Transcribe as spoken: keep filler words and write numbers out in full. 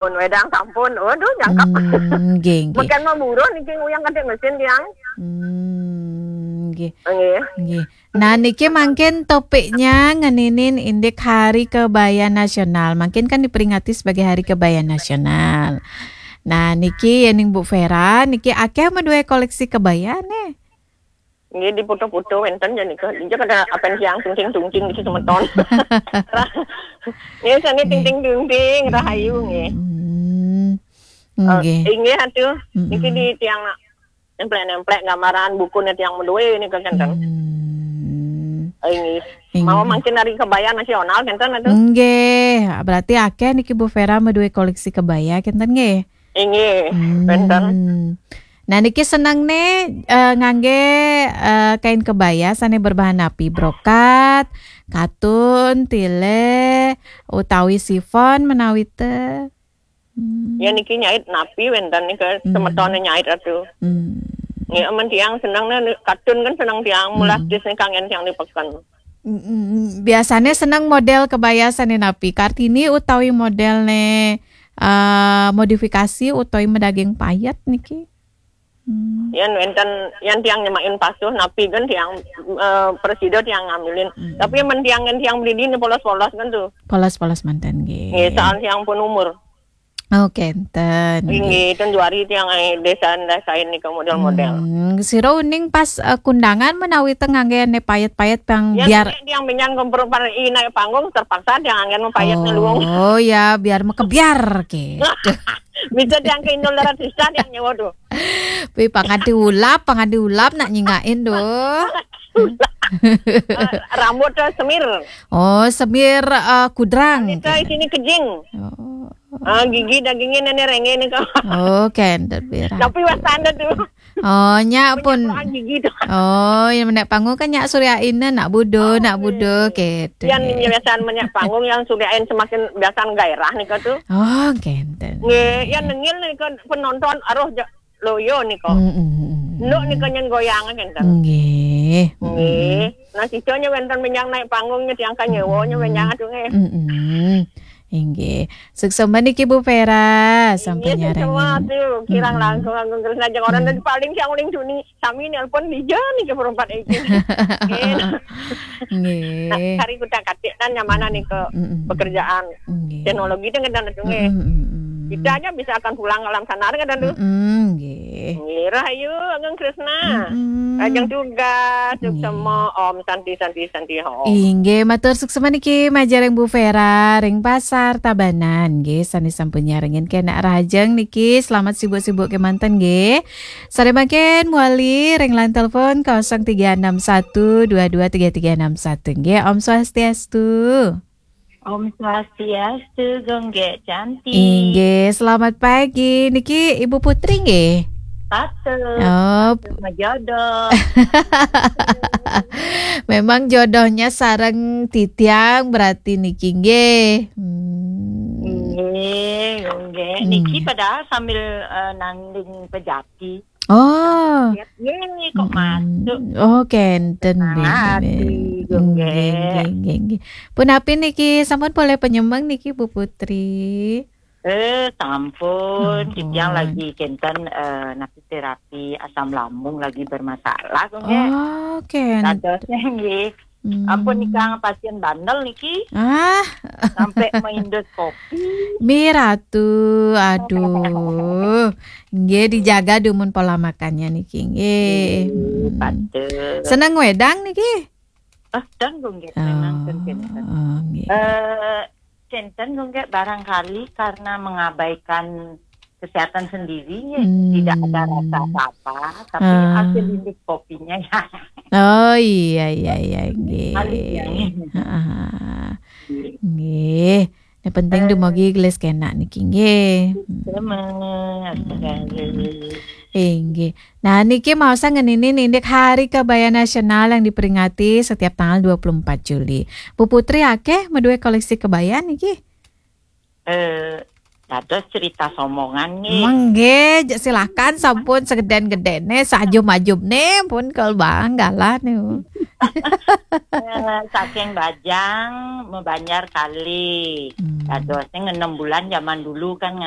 Pun wedang sampun. Waduh, jangkep. Hmm, nggih, nggih. Mungkin mau buruh niki nguyang kadek mesin tiang. Hmm, nggih. Nggih. Nggih. Nah, niki mangkin topiknya ngeninin indik Hari Kebaya Nasional. Mangkin kan diperingati sebagai Hari Kebaya Nasional. Nah, niki ya ning Bu Vera, niki akeh meduwe koleksi kebaya nih. Nggih, di foto-foto wenten ya nika. Injak ada apen tiang tungting-tungting di semeton. Nggih, sane ting-ting-tungting, rahayu nggih. Hmm. Eh, Nggih. Inggih atuh. Mm-mm. Niki di tiang nemplek-nemplek gambaran bukune tiang meduwe nika kenten. Hmm. Eh, inggih. Inggih. Mau mangkin hari kebaya nasional kenten atuh. Nggih, berarti akeh niki Bu Vera meduwe koleksi kebaya kenten nggih. Inggih, Hmm. Kenten. Nah, niki seneng nih eh, ngangge eh, kain kebaya sane berbahan napi, brokat, katun, tile, utawi sifon menawi te. Hmm. Ya niki nyait napi wenten nika Hmm. Semetone nyait atuh. Hmm. Nggih, amen tiang seneng nih katun kan seneng tiang mulas Hmm. Dis nih kangen tiang di peken. Mm, mm, mm. Biasane seneng model kebaya sane napi? Kartini utawi model ne eh, modifikasi utawi medaging payet niki? Hmm. Yen wenten yen tiang nyemain pasuh napi kan tiang eh, presida tiang ngambilin. Hmm. Tapi men tiang kan tiang beli ini polos-polos kan tuh. Polos-polos manten nggih. Nggih, soal tiang pun umur. Oh, kenten. Nggih, ten juari tiang ai desain-desain nika model-model. Hmm, sira uning pas eh, kundangan menawi teng ngangge ne payet-payet pang Yang biar tiang menyang kompropan i naik panggung terpaksa tiang anggen payet ngeluwung. Oh ya, biar mekebiar ke. Bisa tiang ke Inul Daratista tiang nyewa tuh. Pi pangadi ulap, pangadi ulap nak nyingain doh. Eh, rambut tuh semir. Oh, semir eh, kudrang. Itu ke. Isini kejing. Oh. Ah, gigi dagingnya nenek renge nih kok. Oh, kenten pira. Tapi wasanda tuh. Oh, nyak pun. Punya gigi tuh. Oh, yang menek panggung kan nyak Surya Ina nak budo, nak budo gitu. Yang biasaan banyak panggung yang Surya Ina semakin biasaan gairah nih kok tuh. Oh, kenten. Nggih, yang nengil nih kok penonton aruh ja- loyo nih kok. Mm, mm, mm, mm. Nuk nih kok nyen goyang kenten. Nggih. Nggih. Nah, sisanya wenten menyang naik panggungnya tiang kan nyewanya menyang aduh nggih. Mm, mm. Inggih. Suksma niki Bu Vera sampun nyarengin. Semua tuh kirang langkung langkung terus aja orang dari paling siang uling Juni sami nelpon di jam nih ke perempat iki. Nggih. Nah, hari kita katik kan yang mana nih ke Mm-mm. Pekerjaan Nggih. Teknologi itu kan tuh nggih. Mm-mm, mm-mm. Kita aja bisa akan pulang alam sana kan tuh. Mm-mm, nggih. Nggih, rahayu Ageng Kresna. Mm-mm. Ajeng tugas, Nggih. Suksma, Om Santi Santi Santi Om. Inggih, matur suksma niki majareng Bu Vera ring Pasar Tabanan nggih sane sampun nyarengin kenak rahajeng niki. Selamat sibuk-sibuk kemanten nggih. Sare mangkin muali ring line telepon kosong tiga enam satu dua dua tiga tiga enam satu nggih. Om Swastiastu. Om Swastiastu, Gonggek cantik. Inggih, selamat pagi. Niki Ibu Putri nggih? Patut. Oh. Sama jodoh. Memang jodohnya sareng titiang berarti niki nggih. Hmm. Nggih, Gonggek. Niki Hmm. Padahal sambil eh, nanding pejati. Oh. Lihat, "Ye, kok Mm-mm. Masuk?" Oh, kenten, Senang hati, Bebe. Gonggek. Nggih, nggih, nggih, nggih. Punapi niki sampun boleh penyemeng niki, Bu Putri? Eh, sampun. Mm-mm. Titiang lagi kenten eh, nasi terapi asam lambung lagi bermasalah, Gonggek. Oh, kenten. Dadosnya nggih. Hmm. Ampun nika pasien bandel niki. Ah. Sampai mendoskopi. Miratu, aduh. Nggih dijaga dumun pola makannya niki nggih. Nggih, hmm. Patut. Seneng wedang niki? Ah, dan Gonggek memang Oh, kenten. Oh, nggih. Eh, kenten Gonggek barangkali karena mengabaikan kesehatan sendiri, hmm. Tidak ada rasa apa-apa, tapi ah. Hasil endoskopinya ya. Oh iya iya iya nggih. Halus ya. Heeh. Nggih. Yang penting eh. Dumugi gelis kenak niki nggih. Sama. Inggih. Nah, niki mau saya ngeninin indik Hari Kebaya Nasional yang diperingati setiap tanggal dua puluh empat Juli. Bu Putri akeh meduwe koleksi kebaya niki? Eh, Dados cerita somongan nih. Mengge, silakan sampun segeden-gedene, sajum-ajumne pun kal bang galah niku. Eh, saking Bajang, Banjar kali. Hmm. Dadosnya enam bulan zaman dulu kan